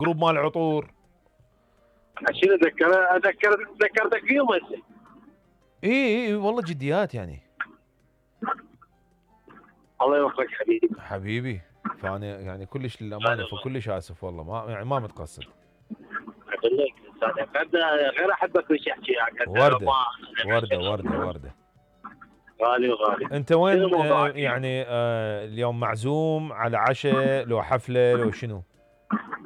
جروب مال عطور. شنو ذكرتك فيهم هسه. اي والله جديات يعني. الله يوفقك حبيبي. حبيبي فانا يعني كلش للامانه فكلش اسف والله ما يعني ما متقصد. اقول لك غير احبك وش احكي يعني. ورده غالي وغالي. انت وين يعني اليوم معزوم على عشاء لو حفله لو شنو؟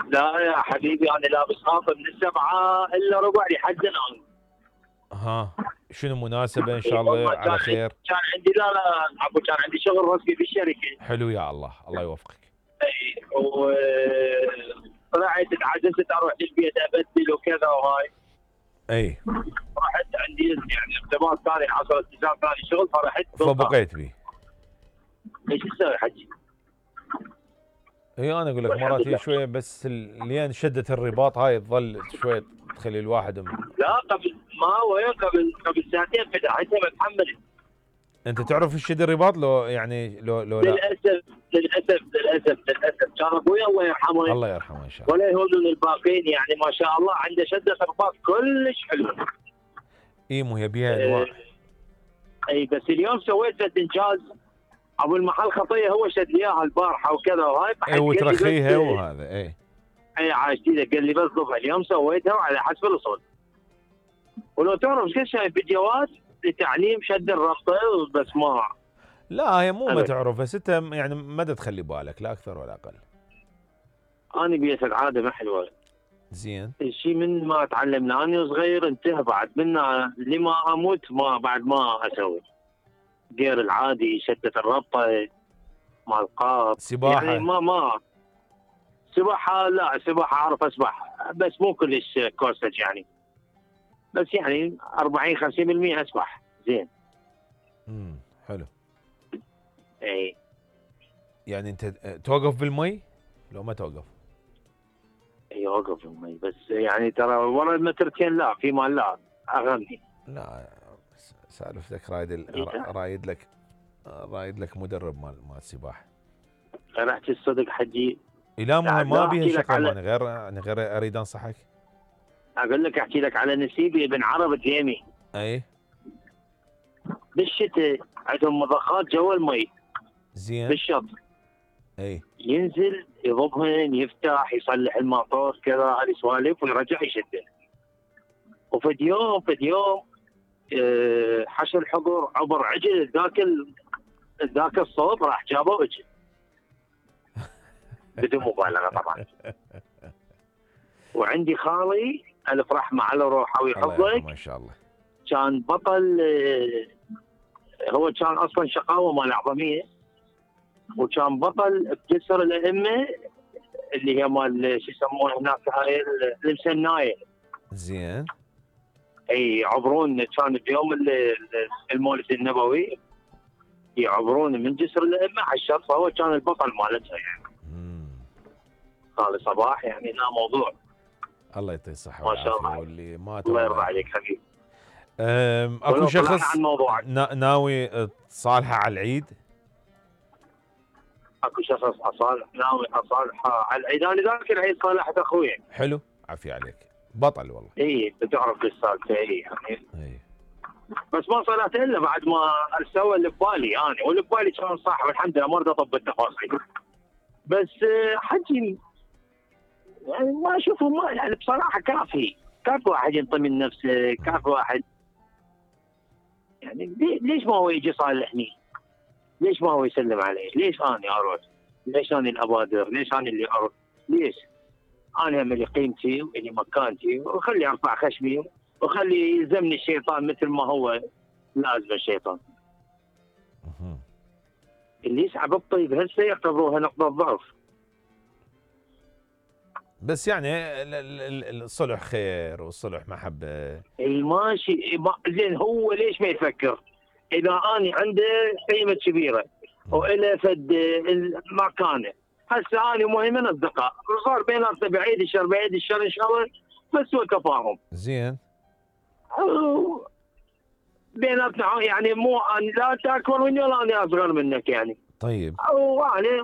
لا يا حبيبي انا لابس خاطر من 7 الا ربع لحد الان. ها شنو مناسبه ان شاء الله على خير؟ كان عندي لا كان عندي شغل رسمي في الشركه. حلو يا الله يوفقك. اي طلعت اتعجزت اروح للبيت ابدل وكذا وهاي. اي رحت عندي يعني ارتباط ثاني حصل التزام ثاني شغل فرحت فبقيت بيه. ايش تسوي حجي؟ اي انا اقول لك مرات هي شويه بس لين شده الرباط هاي تظل شويه تخلي الواحد لا قبل ما هو قبل ساعتين فتحتها بتحمل. انت تعرف ايش الرباط لو يعني لو للاسف كان ابوي الله يرحمه ان شاء الله ولا يهون الباقين يعني ما شاء الله عنده شده رباط كلش حلو. اي مو هي بيها انواع. اي بس اليوم سويت انجاز. ابو المحل خطيه هو شد لي اياها البارحه وكذا وهاي. اي وترخيها وهذا اي عاشتي قال لي بس ضبها اليوم سويتها وعلى حسب الوصول. ولو تعرف كل شيء فيديوهات لتعليم شد الربطه بس ما. لا هي مو ما تعرف بس انت يعني ما تخلي بالك لا اكثر ولا اقل. انا بيت العاده ما حلوه. زين. الشيء من ما تعلمنا انا صغير انتهى بعد منا لما اموت ما بعد ما اسوي. غير العادي شدة الربطه مع القاب. سباحه يعني ما سباحه لا سباحه اعرف اسبح بس مو كلش كورسج يعني. بس يعني 40 50% اسبح زين. حلو. اي يعني انت توقف بالمي لو ما توقف؟ اي اوقف بالمي بس يعني ترى ورا المترتين لا في مال لا اغني. لا سالفتك رايد لك مدرب مال السباحه. رحت الصدق حجي. لا ما بيها شغله انا غير اريد انصحك. اقول لك احكي لك على نسيبي ابن عرب تيمي. اي بالشتاء عندهم مضخات جوا المي. زين. بالشط. اي ينزل يضبهن يفتح يصلح الموتور كذا هذه سوالف ويرجع يشده. وفد يوم حشر الحضور عبر عجل ذاك الصوب راح جابه اجل. بدون مبالغه طبعا. وعندي خالي الف رحمه على روحه ويحفظك. ما شاء الله. كان بطل. هو كان اصلا شقاوه مال اعظميه. وكان بطل بجسر الائمه اللي هي مال شو يسمونه هناك هاي المسنايه. زين. اي يعبرون كان بيوم المولد النبوي يعبرون من جسر الائمه على الشط فهو كان البطل مالتها يعني. خالي صباح يعني لا موضوع. الله يعطيه الصحه والعافيه واللي ما الله يرضى عليك حبيبي. اكو شخص ناوي تصالحه على العيد؟ اكو شخص ناوي اصالحه على العيد. انا ذاك العيد صالحت اخوي. حلو عافية عليك بطل والله. اي بتعرف السالفه اي يعني. بس ما صلحت الا بعد ما سوى اللي ببالي انا واللي ببالي كان صح والحمد لله ما اريد اطب التفاصيل. بس حجي يعني ما اشوفه ما يعني بصراحه كافي واحد ينطي من نفسه كافي واحد يعني. ليش ما هو يجي يصالحني؟ ليش ما هو يسلم علي؟ ليش انا اروح؟ ليش انا الابادر؟ ليش انا اللي اروح؟ ليش؟ انا هم اللي قيمتي واللي مكانتي وخلي ارفع خشمي وخلي يلزمني الشيطان مثل ما هو لازم الشيطان. اللي يسحب الطيب هسه يعتبروها نقطه ضعف. بس يعني الصلح خير والصلح محبه. ماشي زين. هو ليش ما يفكر؟ اذا اني عنده قيمه كبيره والى فد مكانه هسه اني مهمه اصدقاء وصار بيناتنا بعيد الشر ان شاء الله بس هو تفاهم. زين. بيناتنا يعني مو لا انت اكبر مني ولا انا اصغر منك يعني. طيب. او يعني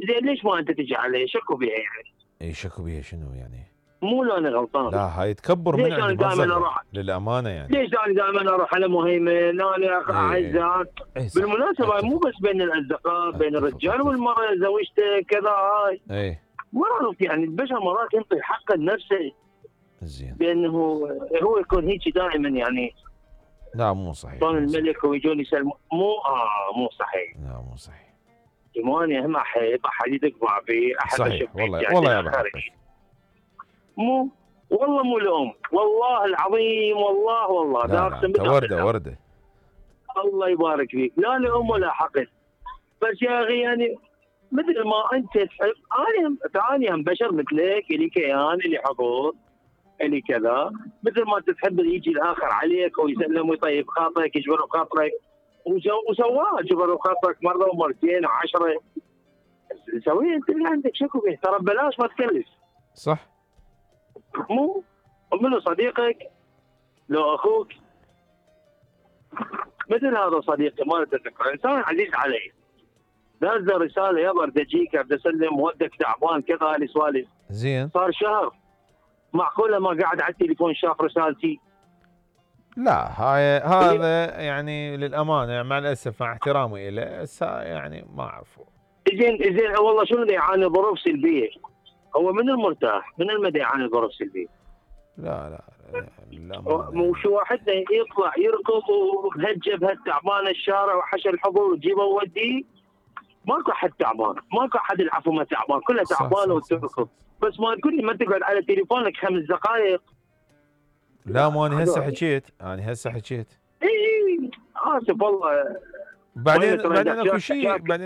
زين ليش ما انت تجي علي؟ شكو بيها يعني. اي شكو بيها شنو يعني؟ مو لو انا غلطان. لا هاي تكبر من عندي دائما اروح للامانه يعني. ليش انا دائما اروح على مهيمن انا اعزها؟ بالمناسبه هاي مو بس بين الاصدقاء، بين الرجال والمراه، زوجته كذا هاي. اي مرات يعني البشر مرات ينطي حق لنفسه. زين. بانه هو يكون هيك دائما يعني. لا مو صحيح. طال الملك ويجون يسلمون مو صحيح. لا مو صحيح. ايماني هم احد يدق فيه احد صحيح والله يعني والله يا بحبك. مو والله مو الام، والله العظيم والله لا انت ورده الله يبارك فيك، لا لام ولا حقد. بس يا اخي يعني مثل ما انت تحب انا هم بشر مثلك، الي كيان، الي حقوق، الي كذا، مثل ما تحب يجي الاخر عليك ويسلم ويطيب خاطرك يجبر بخاطرك، وسواه جبر بخاطرك مره ومرتين و10. سويه انت اللي عندك، شكو به، ترى ببلاش ما تكلف. صح. مو منو صديقك لو اخوك مثل هذا صديقي ما اتذكر، انسان عزيز علي، نزل رساله يابا ارتجيك بدي اسلم ودك تعبان كذا هذه سوالف. زين. صار شهر، معقوله ما قاعد على التليفون شاف رسالتي؟ لا هذا يعني للامانه مع الاسف مع احترامي له يعني ما اعرفه. زين والله شنو يعاني ظروف سلبيه؟ هو من المرتاح من المدى يعاني ظروف سلبيه؟ لا مش واحد يطلع يركض وبهالجبهه التعبانه الشارع وحشى الحضور وتجيبه ووديه. ماكو حد تعبان، ماكو حد العفو ما تعبان، كله تعبان وتركض. بس ما تقول لي ما تقعد على تليفونك 5 دقائق. لا مو انا هسه حكيت اي اسف والله. بعدين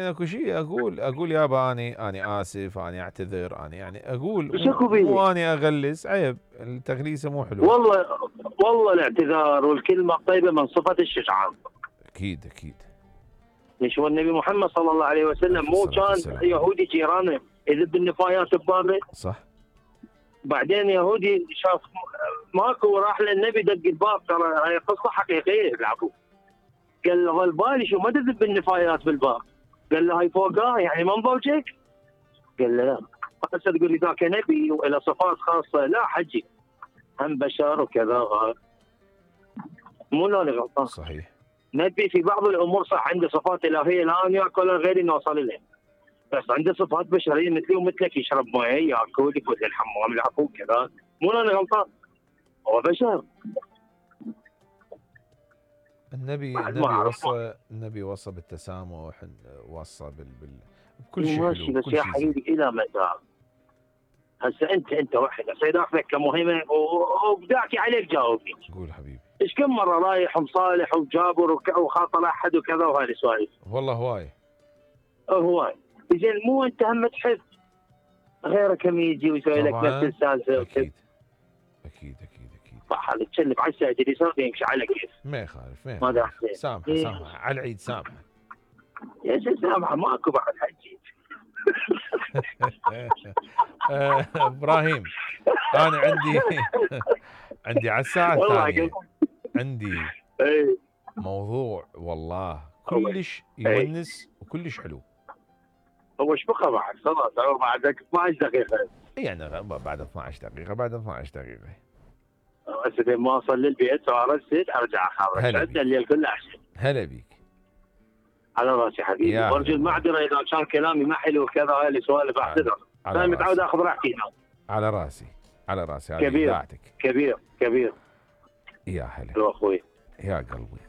اكو شيء اقول يابا اني اسف، اني اعتذر، اني يعني اقول مو اني اغلس، عيب التغليسه مو حلو. والله الاعتذار والكلمه الطيبه من صفه الشجعان. اكيد. ليش هو النبي محمد صلى الله عليه وسلم مو كان يهودي جيرانه يذب النفايات ببابه؟ صح. بعدين يهودي شاف ماكو راح للنبي دق الباب، ترى هي قصه حقيقيه العفو. قال له ظل بالي شو ما تذب النفايات بالباب؟ قال له هاي فوقها يعني ما مضوجك؟ قال له لا. هسه تقول لي ذاك نبي وله صفات خاصه؟ لا حجي هم بشر وكذا. مو انا غلطان. صحيح. نبي في بعض الامور صح عنده صفات الهيه لا ياكل ولا غيري نوصل لها، بس عنده صفات بشريه مثلي ومثلك، يشرب مويه، ياكل، يفوت الحمام، العفو كذا. مو انا غلطان، هو بشر. النبي وصى بالتسامح، وصى بكل شيء ماشي. بس يا حبيبي الى متى؟ هسه انت واحد هسه داخلك كمهمه وبداكي عليك جاوبني. قول حبيبي. ايش كم مره رايح ومصالح وجابر وخاطر احد وكذا وهذه سوالف؟ والله هواي. زين مو انت هم تحب غيرك هم يجي ويسوي لك نفس السالفه؟ اكيد. صح. هذا تشلب على الساعه اللي صار يمشي على كيف. ما يخالف. ماذا سامحه على العيد، سامحه يا شيخ، سامحه ماكو بعد حجي. ابراهيم انا عندي على الساعه الثانيه عندي موضوع والله كلش يونس وكلش حلو. هو ايش بقى بعد؟ خلاص هو بعد 12 دقيقه يعني بعد 12 دقيقه هسه ما اوصل للبيت وارسل ارجع اخبرك. عندنا الليل كله عشان. هلا بيك. على راسي حبيبي، وارجو المعذره اذا كان كلامي ما حلو كذا، هاي اللي سوالف اعتذر. انا متعود اخذ راحتي هنا. على راسي كبير. يا هلا يا اخوي يا قلبي.